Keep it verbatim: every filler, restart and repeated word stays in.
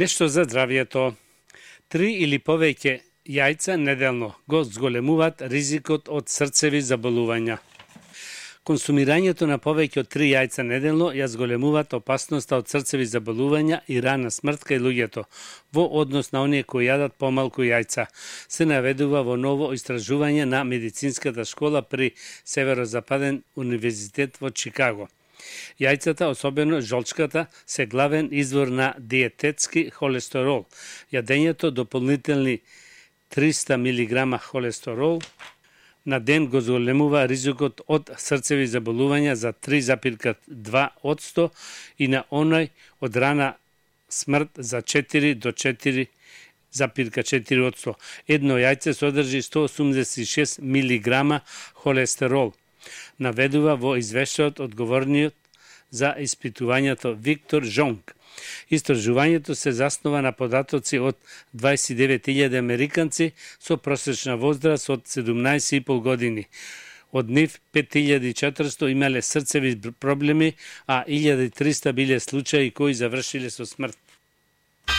Нешто за здравието. Три или повеќе јајца неделно го зголемуваат ризикот од срцеви заболувања. Консумирањето на повеќе од три јајца неделно ја зголемуваат опасноста од срцеви заболувања и рана смрт кај луѓето, во однос на оние кои јадат помалку јајца, се наведува во ново истражување на медицинската школа при Северозападен универзитет во Чикаго. Јајцата, особено жолчката, се главен извор на диететски холестерол. Јадењето дополнителни триста милиграма холестерол на ден го зголемува ризикот од срцеви заболувања за три запирка два одсто и на оној од рана смрт за четири до четири запирка четири одсто. Едно јајце содржи сто осумдесет и шест милиграма холестерол, наведува во извештајот одговорниот за испитувањето Виктор Жонг. Истражувањето се заснова на податоци од дваесет и девет илјади американци со просечна возраст од седумнаесет и пол години. Од нив пет илјади и четиристо имале срцеви проблеми, а илјада и триста биле случаи кои завршиле со смрт.